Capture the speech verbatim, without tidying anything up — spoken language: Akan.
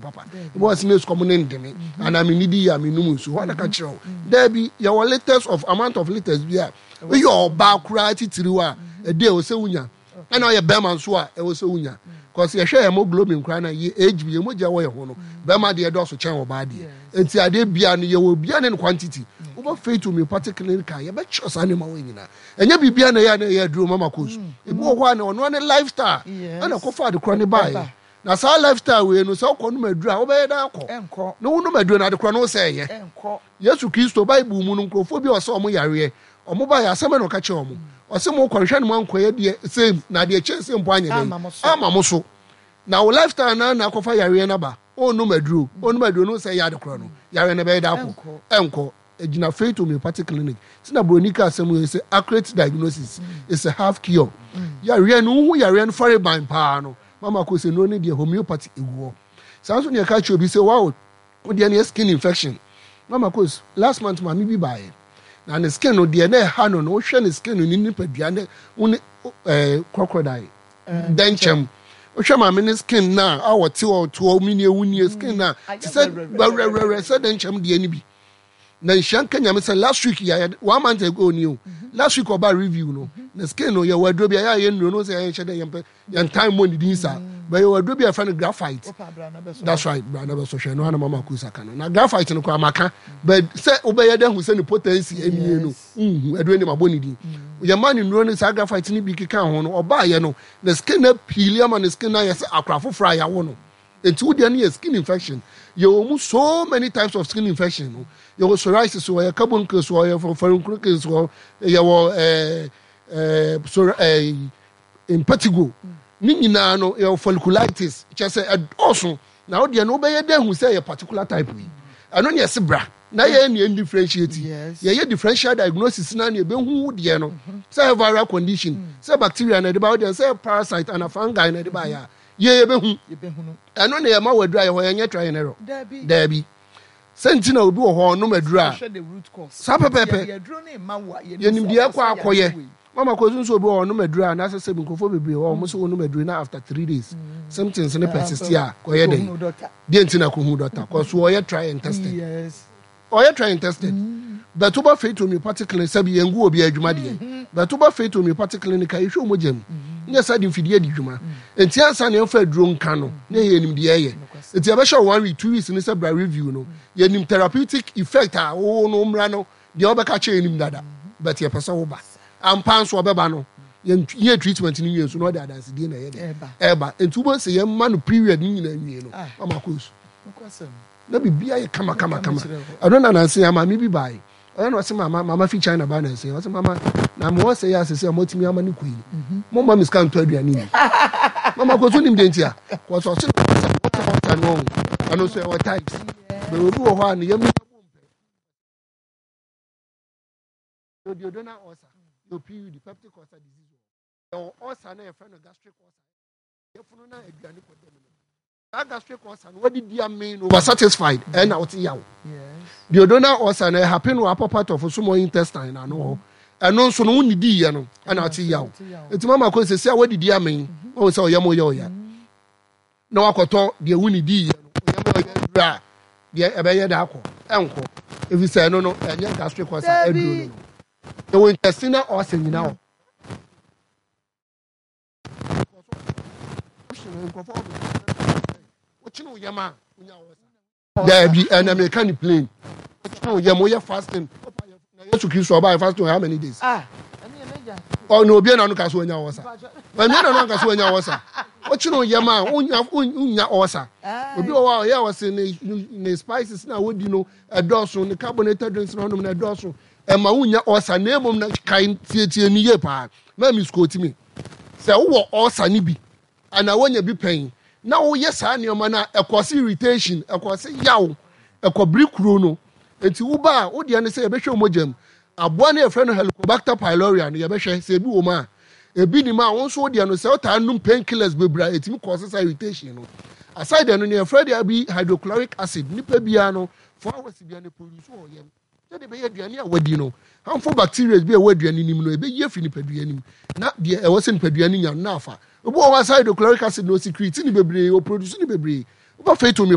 Papa ebi wɔ sɛ sukɔm ne ndeme anaa me nidi yɛ a me num nsuo hɔ na ka kyerɛ wo daabi. Yɛwɔ liters of amount of liters bi a woyɛ ɔbaa koraa titiriw a ɛde ɛwɔ sɛ wonya, ɛna ɔyɛ bɛrima nso a ɛwɔ sɛ wonya, cause yɛhwɛ hemoglobin koraa na yɛ H B, yɛ mogya wɔ yɛ ho no, bɛrima deɛ dɔɔso kyɛn ɔbaa deɛ. Nti adeɛ bia no, yɛwɔ bia ne no quantity. Wobɛ Faith Homeopathic Clinic a, yɛbɛkyerɛ saa nneɛma wɔ nyinaa. Ɛnyɛ biribia na ɛyɛ a na ɛyɛ aduro mama course. Ebi wɔ hɔ a na ɔno ne lifestyle ɛna kɔfa ade korɔ ne baeɛ, na saa lifestyle wei no, sɛ wokɔ nom aduro a, wobɛyɛ dɛ akɔ na wonom aduro no, ade korɔ no wo sɛ ɛyɛ Yesu Kristo Bible mu no, nkurɔfoɔ bi a ɔsɛ ɔmo yareɛ, ɔmo ba yɛ asɛm na ɔka kyerɛ ɔmo, ɔsɛ mo kɔ nhwɛ no mo ankɔyɛ deɛ same na adeɛ kyɛn sɛ mpo anyɛ dɛn ama mo so. Na wo lifestyle na na akɔfa yareɛ no aba. Ɔnnom aduro, ɔnnom aduro no sɛ ɛyɛ ade korɔ no, yareɛ no bɛyɛ dɛ akɔ? Ɛnkɔ. Egyina Faith Homeopathic Clinic si na buroni ka asɛm yɛ sɛ accurate diagnosis is a half cure. Yareɛ no, wohu yareɛ no fare ban paa no, mama kò sɛ nnuro no deɛ, homeopathy egu hɔ saa nso. Nea ɛka kyerɛ obi sɛ wow, wodeɛ no yɛ skin infection. Mama kò, last month maame bi baayɛ na ne skin no deɛ na ɛha no no wohwɛ ne skin no, ne nipadua ne wo ne ɛɛ crocodile dɛnkyɛm. Wohwɛ maame ne skin na a wɔte hɔ te hɔ mi nie wu nie skin na te sɛ wɛrɛwɛrɛ sɛ dɛnkyɛm deɛ no bi. Na nhyia nka Nyame sɛ last week yɛ, one month ago ni o, last week ɔba review no, na skin no, yɛwɔ aduro bi a yɛayɛ nnuro no sɛ yɛnhyɛ dɛ yɛmpɛ yɛn time mɔ ne din saa bɛ. Yɛwɔ aduro bi a yɛfrɛ no graphite. That's right, bra na bɛsɔ hwɛ no ana mama kusa ka no na graphite no koraa maka but sɛ wobɛyɛ dɛ hu sɛ ne potency ɛnie no, nhu aduro ne mabɔ ne din. Yɛma ne nnuro no saa graphite no bi keka ho no, ɔbaayɛ no na skin no peel ama ne skin no ayɛ sɛ akora foforɔ a yɛawo no. Nti wo deɛ no yɛ skin infection. Yɛwɔ mu so many types of skin infection no. Yɛwɔ psoriasis wɔ, yɛ carbuncles wɔ, yɛ furunculosis wɔ, yɛwɔ ɛɛ ɛɛ psor ɛɛ impetigo ne nyinaa no, yɛwɔ folliculitis. Kyerɛ sɛ ɛdɔɔso. Na wo deɛ no, wobɛyɛ dɛ hu sɛ yɛ particular type yi, ɛno ne yɛse bra na yɛyɛ nea differentiate. Yɛyɛ differential diagnosis na nea ɛbɛhu wo deɛ no, sɛ yɛ viral condition, sɛ bacteria na ɛde ba wo deɛ, sɛ parasite ana fungi na ɛde ba yɛ a, yɛ yɛbɛhu ɛno na yɛma wɔ aduru a yɛhɔ. Yɛnyɛ try and error, daabi. Sɛ nti na obi wɔ hɔ ɔnom aduru a saa pɛpɛɛpɛ, yɛnim deɛ ɛkɔ akɔyɛ. Mama kò nso, obi wɔ hɔ ɔnom aduru a n'asɛ sɛ nkurɔfoɔ bebree wɔ ɔmo sɛ wɔnom aduru na after three days symptoms ne persist a, kɔyɛ dɛ deɛ nti na kɔhu doctor kɔ so. Ɔyɛ try and tested, ɔyɛ try and tested. But woba Faith Homeopathic Clinic, sɛbi, yɛn gu obi adwuma deɛ, but woba Faith Homeopathic Clinic a, yɛhwɛ wɔn gya mu nyɛ sɛ de mfidie di dwuma. Nti ansa na yɛmfa aduro nka no na yɛ nim deɛ ɛyɛ. Nti yɛbɛhyɛ one week, two weeks ne sɛ bra review no, yɛnim therapeutic effect a wo no mmra no deɛ wɔbɛka kyerɛ yɛnim dada. But yɛpɛ sɛ woba ampa nso, ɔbɛba no, yɛn treatment no wie nso na ɔde adansedie na ɛyɛ dɛ ɛba. Nti wobɛ sɛ yɛma no period no nyinaa nwie no, mama kɔ su na biribiara yɛ kama kama kama. Ɛno na nanse ya maame bi bae, ɔyɛ na ɔsɛ mama mama fi China ba nanse. Ɔsɛ mama na mo ɔsɛ yɛ asese a mɔtumi ama ne kɔ yi, mo ma mi sika ntɔ aduane yi. Mama kɔ so nim de nti a kɔsɔ ɔsɛ ɔsɛ ɔsɛ no ɛno nso ɛwɔ types bɛrɛ. Obi wɔ hɔ a ne yam yɛ duodenal ulcer, yɛ P U D, peptic ulcer disease, wɔ yɛwɔ ulcer na yɛfrɛ no gastric ulcer, yɛfunu na aduane kɔ dɛm no. Saa gastric ulcer no, wɔde di amee no over satisfied, ɛna wɔte yaw. Duodenal ulcer no ɛhappen wɔ upper part of small intestine na ano hɔ. Ɛno nso no, wonni di yɛ no ɛna wɔte yaw. Nti mama kɔ sɛ sɛ a wɔde di amee, wɔn sɛ ɔyɛ mo yɛ ɔya na wakɔtɔ deɛ wonni di yɛ no, ɔyɛ mo ɔyɛ duro a deɛ ɛbɛyɛ da akɔ ɛnkɔ, efi sɛ ɛno no ɛnyɛ gastric ulcer aduro no no Ɛwɔ intestinal ulcer nyinaa wɔ nkurɔfoɔ wokyene wo yam a wonya ulcer. Daabi, ɛna meka ne plain. Wokyene wo yam, woyɛ fasting na Yesu Kristo ɔbaa fasting how many days? Ɔna obi na no ka so wonya ulcer, ɛmia na no anka so wonya ulcer. Wokyene wo yam a wonya wonya ulcer. Obi wɔ hɔ a ɔyɛ ɔse ne ne spices na wodi no ɛdɔɔso, ne carbonated drinks na ɔnom na ɛdɔɔso, ɛma wonya ulcer. Na emom na kae tietie ni yie paa na mi sukuu mi sɛ wowɔ ulcer ni bi ana wonya bi pɛn na woyɛ saa nneɛma no a, ɛkɔ se irritation, ɛkɔ se yaw, ɛkɔ biri kuro no. Nti woba a, wodeɛ no sɛ yɛbɛhwɛ mogya mu aboa no, yɛfrɛ no Helicobacter pylori no, yɛbɛhwɛ sɛ ebi wɔ mu a, ebi nim a. Wo nso wodeɛ no sɛ wotaa nom painkillers bebree a, ɛtumi kɔ se saa irritation no aside. Ɛno no yɛfrɛ deɛ bi hydrochloric acid. Nipa biara no, four hours biara no produce wɔ yam sɛdeɛ ɛbɛyɛ aduane a wadi no, harmful bacteria bi a ɛwɔ aduane nim no, ɛbɛyi afiri nipadua nim na deɛ ɛwɔ sɛ nipadua no nya no na afa. Obi wɔ hɔ asa hydrochloric acid na ɔsecrete ne bebree, ɔproduce ne bebree. Woba Faith Homeopathy